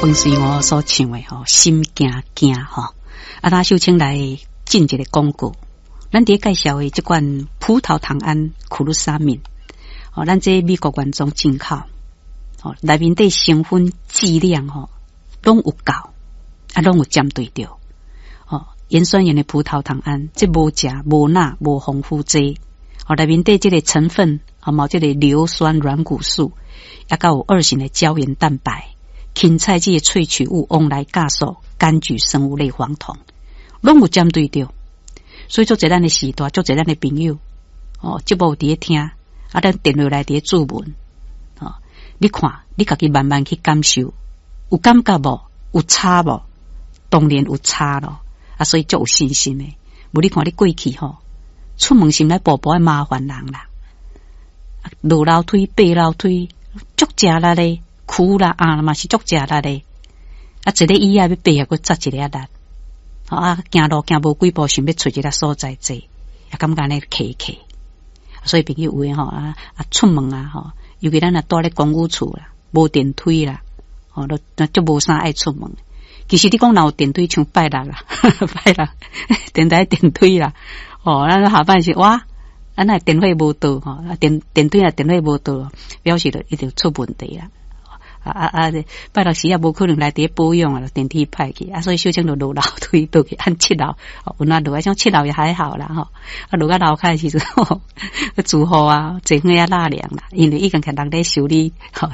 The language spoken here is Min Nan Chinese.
彭瑞娥所唱的吼，心驚驚吼。啊，那秀清來進一个廣告。咱佇咧介紹的這款葡萄糖胺苦魯沙敏，哦，咱這美國原裝進口，哦，內面底成分劑量吼，攏有夠，啊，攏有針對著。哦，鹽酸鹽的葡萄糖胺，這無食無鈉無防腐劑，哦，內面底這个成分啊，嘛有這个硫酸軟骨素，抑閣有二型的膠原蛋白。芹菜這个萃取物、旺來酵素、柑橘生物類黃酮，攏有針對著。所以足濟咱的時代，足濟咱的朋友，哦，節目有佇咧聽，啊，咱電話來佇咧注文，哦，你看，你家己慢慢去感受，有感覺無？有差無？當然有差咯，啊，所以足有信心的。無你看你過去吼，出門時來步步愛麻煩人啦，落樓梯、爬樓梯，足食力咧。苦啦啊嘛是足食力咧，啊，一个椅仔欲爬閣紮一个力，啊，行路行無幾步，想欲揣一个所在坐，也感覺按呢騎騎。所以朋友有的吼啊啊出門啊吼，尤其咱若蹛咧公寓厝啦，無電梯啦，吼，都足無啥愛出門。其實你講若有電梯，像拜六啦，拜六電台電梯啦，哦，咱下擺是哇，啊若電火無到吼，啊電梯若電火無到，表示就一定出問題啦。啊啊啊！拜六時也無可能來佇咧保養啊，電梯歹去啊，所以小清就落樓梯倒去按七樓，有哪落來像七樓也還好啦吼，啊落到樓跤的時陣，住戶啊，坐伙仔納涼啦，因為已經看人咧修理吼。